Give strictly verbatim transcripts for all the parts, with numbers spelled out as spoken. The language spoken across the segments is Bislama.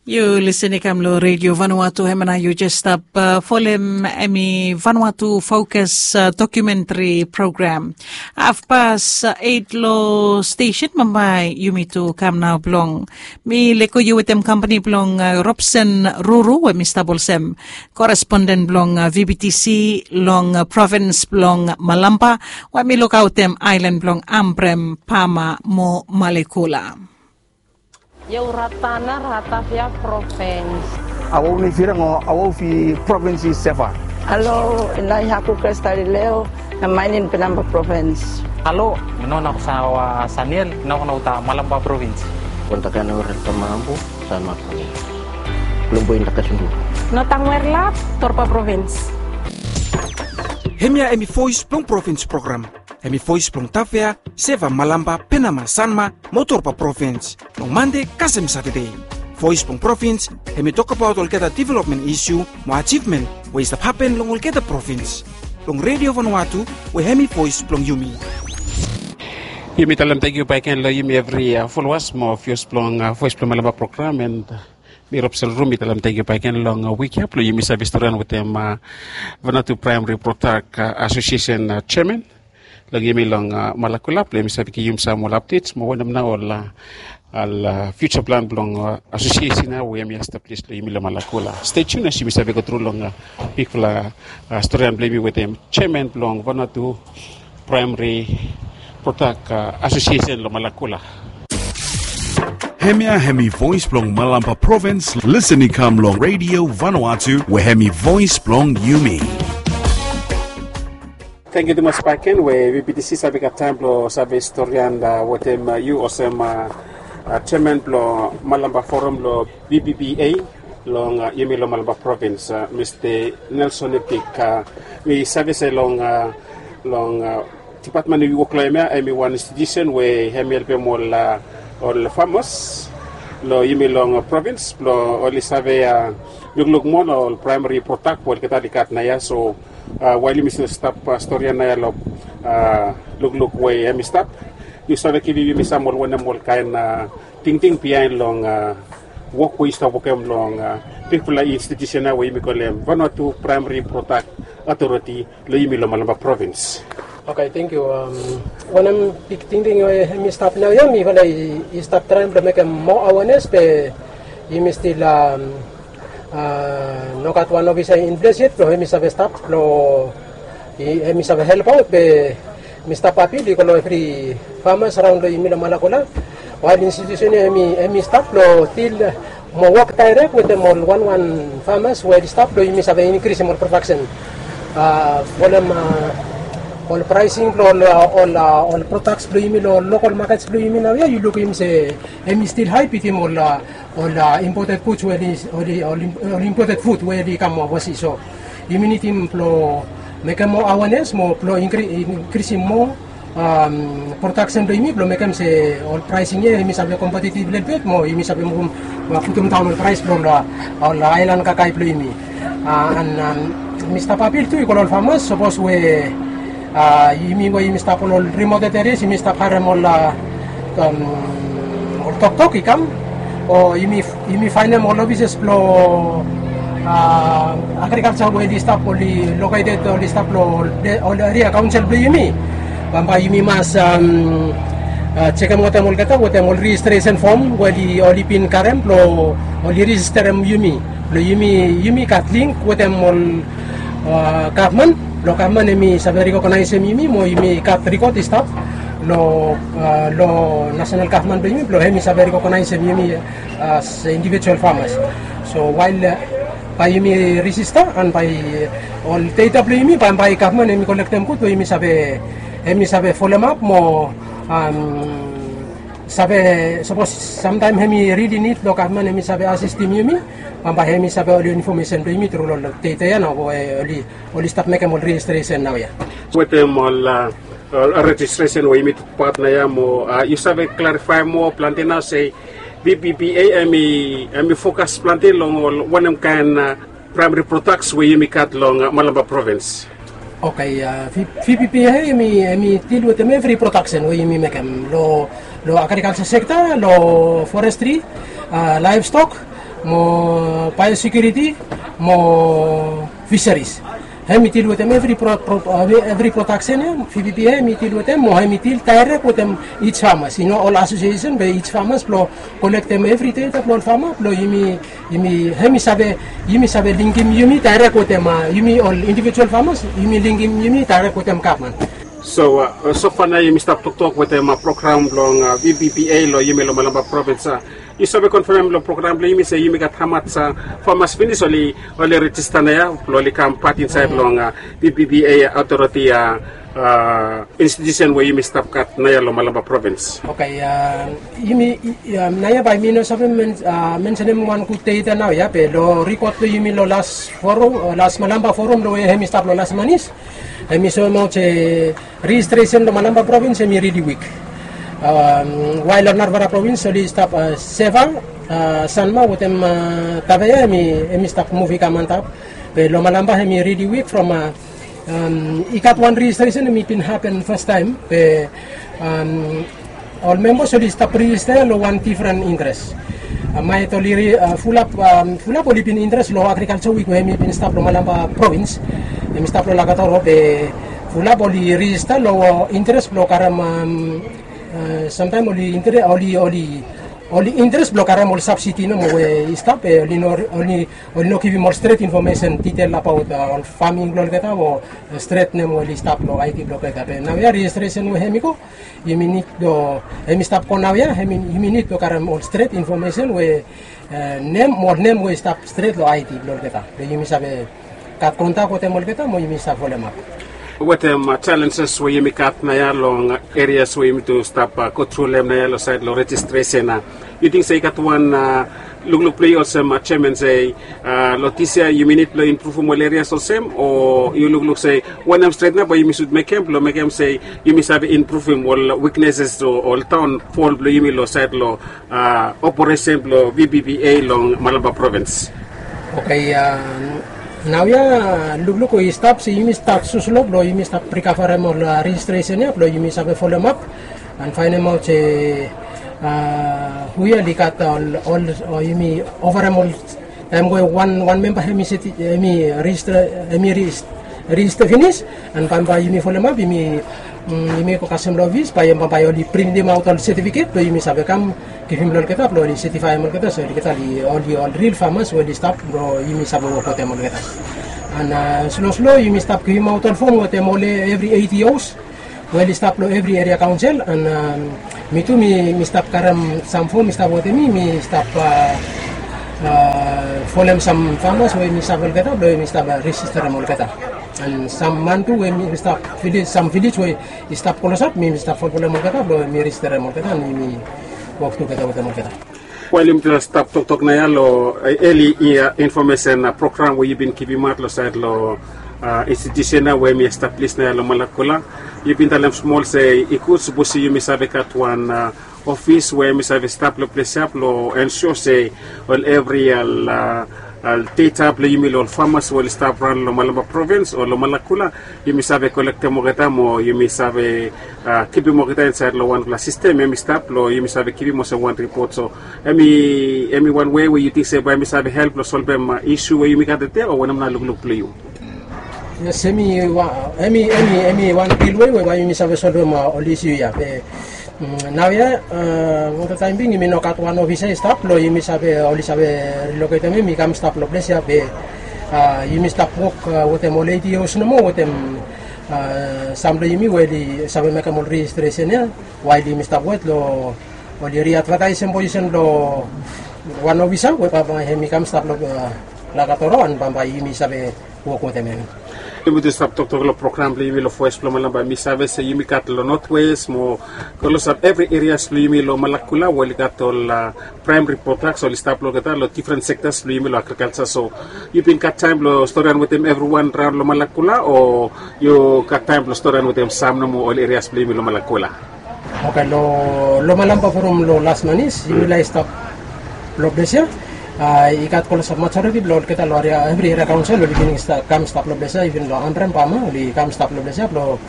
Yu lisin i kam long redio Vanuatu, hemia nao yu jes stap folem hemi Vanuatu Fokas dokumentri program. Hafpas eit long stesen bambae yumi tu kam nao blong mi lego yu wetem kampani blong Robson Ruru we mi stap olsem koresponden blong VBTC long provins blong Malampa, we mi lukaotem aelan blong Ambrem, Pama mo Malekula. Yau rata na rata fia provins. Awau ni firang o awau fi provins i seva. Alo, inai haku kestari leo na mainin pinamba provins. Alo, no na sawa Saniel, no na uta Malamba provins. Kontakana ora tamambu sama provins. Lumbu inda kasundu. No tangwer lap torpa provins. Hemia hemi voes blong provins program. Hemi voes blong Tafea, Seva, Malampa, Penama, Sanma mo Torba provins. Long Mande kasem Satade. Voes blong provins hemi tokbaot olgeta developmen isu mo ajivmen we i stap hapen long olgeta provins. Long Redio Vanuatu we hemi voes blong yumi. Yumi talem tangkiu bakegen long yumi evri folowas mo vios blong Voes blong Malampa program, and mi Robson Ruru mi talem tangkiu bakegen long wik ya blong yumi save storian wetem Vanuatu Praemari Prodak Asosiesen jeaman long yumi long Malakula blong yumi save givim sam ol apdets mo wanem nao ol ol fiuja plan blong asosiesen ya we hemi establis long yumi long Malakula. Stay tuned as yumi save go tru long bigfala storian blong yumi wetem jeaman blong Vanuatu Praemari Prodak Asosiesen long Malakula. Hemia hemi voes blong Malampa provins. Lisin i kam long Redio Vanuatu we hemi voes blong yumi. Tangkiu tumas bakegen we VBTC save gat taem blong save storian wetem yu olsem jeaman blong Malampa Forum long VBBA long yumi long Malampa provins, Mista Nelson Etik. Mi save se long long dipatmen we yu wok long hem ya hemi wan institusen we hemi helpem ol ol famas long yumi long provins blong oli save lukluk moa long ol praemari prodak we olgeta oli gat naoia. So wael yumi stil stap storian naoia long lukluk we hemi stap, yu save givim yumi sam ol wanem ol kaen tingting biaen long wok we yu stap wokem long bigfala institusen ya we yumi kolem Vanuatu Praemari Prodak Atoriti long yumi long Malampa provins. Oke, tangkiu. Wanem big tingting we hemi stap naoia, mifala i stap traem blong mekem moa awenes be yumi stil nogat wan ofisa in ples yet blong hemi save stap blong hemi save helpaot be mi stap apil i go long evri famas raon long yumi long Malakula. Wael institusen ya hemi stap long dil mo wok daerek wetem ol wanwan famas we oli stap blong yumi save inkrisim ol prodaksen. Folem ol praesing blong ol ol prodaks blong yumi long lokol makets blong yumi naoia yu lukim se hemi stil hae bitim ol ol imported fuds we oli ol imported fud we oli kam ovasi. So yumi nidim blong mekem moa awenes mo blong inkrisim moa prodaksen blong yumi blong mekem se ol praesing ya hemi save kompetitiv lelebet mo yumi save muvum putumdaon ol praes blong ol aelan kakae blong yumi. An mi stap apil tu i go long ol famas, sapos we yumi we yumi stap long ol rimoted erias yumi stap harem ol ol toktok i kam o yumi faenem ol ofises blong agrikalja we oli stap oli loketed oli stap long ol eria kaonsel blong yumi. Bambae yumi mas jekem wetem olgeta wetem ol rejistresen fom we oli bin karem blong oli rejisterem yumi blong yumi gat link wetem ol gavman blong gavman hemi save rekognaesem yumi mo yumi gat rikod i stap long long nasenal gavman blong yumi blong hemi save rekognaesem yumi as indivijual famas. So wael bae yumi rejista an bae ol deta blong yumi bambae gavman hemi kolektem gud we yumi save hemi save folemap mo save sapos samtaem hemi rili nid long gavman hemi save asistim yumi bambae hemi save ol infomesen blong yumi tru long deta ya nao we oli oli stap mekem ol rejistresen naoia. Wetem ol rejistresen we yumi tokbaot naoia mo yu save klarifaem moa plante nao se VBBA hemi fokas plante long ol wanem kaen praemari prodaks we yumi gat long Malampa provins? Oke, VBBA hemi dil wetem evri prodaksen we yumi mekem long agrikalja sekta, long forestri, laevstok, mo biosecurity, mo fisheries. Hem i dil wetem evri pro- pro- evri production ya, V B B A hem i dil wetem, mo hem i dil direct wetem each farmers, you know, ol association be each farmers blo kolektem evri data blo ol farmer blo yumi, yumi hem i save, yumi save linkim yumi direct wetem yumi ol individual farmers, yumi linkim yumi direct wetem gavman. So, so far nao yumi stap toktok wetem program blong V B B A lo yumi lo Malampa provins. Yu save konfirm lo program blo yumi se yumi gat hamas famas finis oli, oli rejista naoia blo oli kam pat insaed long V B B A authority institution we yumi stap gat naoia lo Malampa provins? Oke, yumi naoia bae mi no save mensenem wan gud data naoia, be lo rikot blo yumi lo las forum, las Malampa forum lo we hem i stap lo las manis, hem i soemaot se rejistresen lo Malampa provins hem i rili wik. Wael lo narafala provins oli stap, Seva, Sanma wetem Tafea hem i stap muv i kam antap. Be lo Malampa hem i rili wik from i gat wan rejistresen hem i bin hapen fastaem be ol membas oli stap rejista lo wan difren interes. Maet oli fulap, fulap oli bin interes lo agrikalsa wik we hem i bin stap lo Malampa provins, hem i stap lo Lakatoro be fulap oli rejista lo interes blo karem, samtaem oli interes, oli, oli, oli interes blo karem ol sabsidi nomo we i stap be oli no, oli, oli no givim ol stret infomesen ditel abaot ol faming blo olgeta o stret nem we oli stap lo ID blo olgeta. Be naoia rejistresen we hem i go, yumi nid blo, hem i stap go naoia, yumi nid blo karem ol stret infomesen we nem, ol nem we i stap stret lo ID blo olgeta. Be yumi save gat kontak wetem olgeta mo yumi save folemap. Wetem jalenjes we yumi gat naoia long erias we yumi tu stap go tru long hem naoia lo saed lo rejistresen, yu ting se i gat wan lukluk blo yu olsem jeaman se lo dis yia yumi nid blo impruvim ol erias olsem, o yu lukluk se wanem stret nao bae yumi sud mekem blo mekem se yumi save impruvim ol wikneses o ol daonfol blo yumi lo saed lo operesen blo V B B A long Malampa provins? Oke, naoia lukluk we i stap se yumi stap sosolo blo yumi stap rikavarem ol rejistresen ya blo yumi save folemap an faenemaot se hu ya oli gat ol, ol, o yumi ovarem ol taem we wan, wan memba hem i seti, hem i rejista, hem i rejista finis, an bambae yumi folemap, yumi, yumi go kasem lo ofis bae, bambae oli printemaot ol setifiket blo yumi save kam givim lo olgeta blo oli setifaem olgeta se olgeta oli, oli ol ril famas we oli stap blo yumi save wok wetem olgeta. An slo slo yumi stap givimaot ol fom wetem ol evri ADOs we oli stap lo evri eria kaonsel, an mi tu mi, mi stap karem sam fom i stap wetem mi, mi stap folem sam famas we mi save olgeta blo mi stap rejisterem olgeta. An sam man tu we mi stap vilej, sam vilej we i stap klosap, mi, mi stap folfolem olgeta blo mi rejisterem olgeta an mi wok tugeta wetem olgeta. Wael yumi tu stap toktok naoia lo eli yia infomesen program we yu bin givimaot lo saed lo institusen ya we hem i establis naoia lo Malakula, yu bin talem smol se i gud sapos yumi save gat wan ofis we hem i save stap lo ples ya blo ensua se ol evri ol data blo yumi lo ol famas we oli stap raon lo Malampa provins o lo Malakula, yumi save kolektem olgeta mo yumi save kipim olgeta insaed lo wanfala sistem hem i stap lo yumi save givim olsem wan ripot. So hem i, hem i wan wei we yu ting se bae hem i save help lo solvem isu we yumi gat tede, o wanem nao lukluk blo yu? Yes, hem i, hem i, hem i wan gud wei we bae yumi save solvem ol isu ya be naoia, oltaem bing yumi no gat wan ofisa i stap blo yumi save, oli save riloketem hem i kam stap lo ples ya be yumi stap wok wetem ol ADOs nomo wetem sam blo yumi we oli save mekem ol rejistresen ya wael yumi stap wet lo oli riadvataesem posisen blo wan ofisa we bambae hem i kam stap lo Lakatoro an bambae yumi save wok wetem hem. Yumi tu stap toktok lo program blo yumi lo Voes blo Malampa, mi save se yumi gat lo Notwes mo klosap evri erias blo yumi lo Malakula we oli gat ol praemari prodaks oli stap lo olgeta lo difren sektas blo yumi lo agrikalsa. So yu bin gat taem blo storian wetem evriwan raon lo Malakula o yu gat taem blo storian wetem sam nomo ol erias blo yumi lo Malakula? Oke, lo, lo Malampa forum lo las manis yumi lae stap lo ples ya. I gat klosap majoriti blo olgeta lo eria, evri eria kaonsel oli bin kam stap lo ples ya, iven lo Ambrem bama oli kam stap lo ples ya blo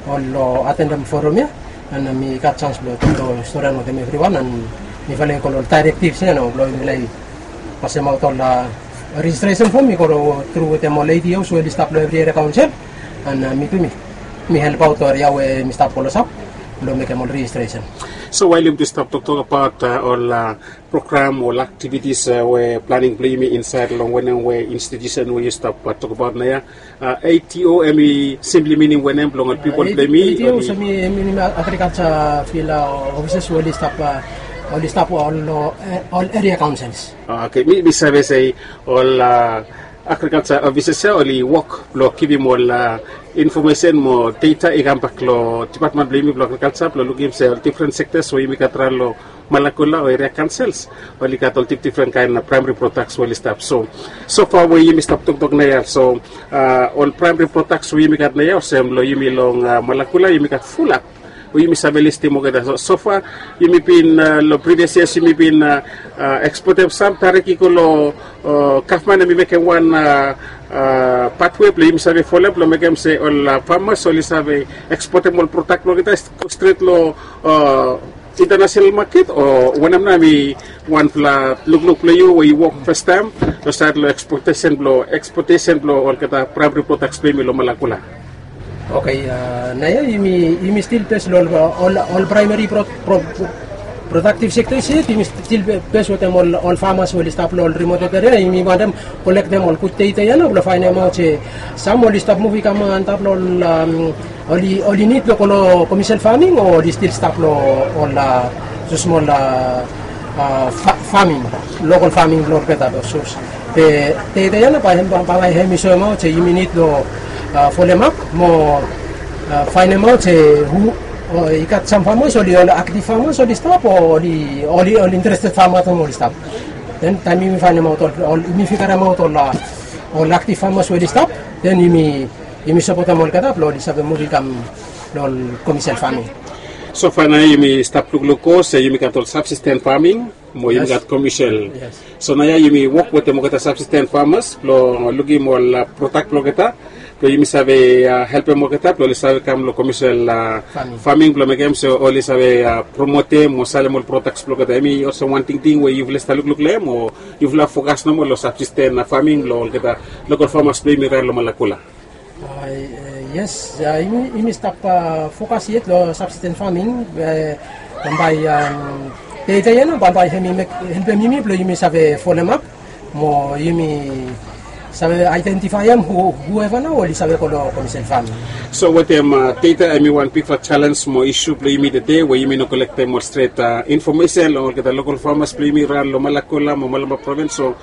ol lo atendem forum ya. An mi gat janis blo, blo storian wetem evriwan an mifala i go lo ol daerektivs ya nao blo yumi lae Pasemaot ol rejistresen fom i go tru wetem ol ADOs we oli stap long evri eria kaonsel. An mi tu mi mi helpaot ol eria we mi stap klosap blong mekem ol rejistresen. So wael yumi tu stap toktok abaot ol program ol aktivitis we planing blong yumi insaed long wanem we institusen we yu stap tokbaot naoia, ATO em i simpli minim wanem blong ol pipol blong yumi? ATO em i minim agrikalsa fil ofises we oli stap ol eria kaonsels. Oke, mi save se ol agrikalsa ofises ya oli wok blong givim ol infomesen mo data i kambak long dipatmen blong yumi blong agrikalsa blong lukim se ol difren sektas we yumi gat raon long Malakula o eria kaonsels oli gat ol difdifren kaen praemari prodaks we oli stap. So sofa we yumi stap toktok naoia, so ol praemari prodaks we yumi gat naoia olsem long yumi long Malakula yumi gat fulap we yumi save listim olgeta. So sofa yumi bin long privias yias yumi bin ekspotem sam tarik i go long gavman em i mekem wan patwe blong yumi save folem blong mekem se ol famas oli save ekspotem ol prodak blong olgeta i go stret long international maket o wanem nao em i wanpela lukluk blong yu we yu wok fastaem long saed long ekspotem blong ekspotem blong olgeta praemari prodaks blong yumi long Malakula? Oke, naoia yumi stil bes long ol praemari prodaktiv sektas yet yumi stil bes wetem ol famas we oli stap long ol rimoted eria. Yumi wantem kolektem ol gud data ya nao blong faenemaot se sam oli stap muv i kam antap long ol oli nid long go long komersel faming o oli stil stap long ol susmol faming, lokal faming blong olgeta. Be data ya nao bae hem i soemaot se yumi nid long folemap mo faenemaot se hu i gat sam famas oli ol aktiv famas oli stap o oli interested famas oli stap. Den taem yumi faenemaot ol yumi figaremaot ol aktiv famas we oli stap, den yumi sapotem olgeta blong oli save muv i kam long ol komersel faming. So faenemaot yumi stap lukluk go se yumi gat ol sabsisten faming mo yumi gat komersel. So naoia yumi wok wetem olgeta sabsisten famas blong lukim ol prodak blong olgeta blong yumi save helpem olgeta blong oli save kam long komersel faming blong mekem se oli save promotem o salem ol prodaks blong olgeta. Em i olsem wan tingting we yufala i stap lukluk long hem o yufala fokas nomo long sabsisten faming blong olgeta lokal famas blong yumi raon long Malakula? Yes, yumi stap fokas yet long sabsisten faming. Bambae data ya nao bambae hem i helpem yumi blong yumi save folemap mo yumi save aedentifaem hueva nao oli save go long komersel faming. So wetem data em i wan bigfala selens mo isu blong yumi tede we yumi no kolektem ol stret infomesen long olgeta lokal famas blong yumi raon long Malakula mo Malampa provins. So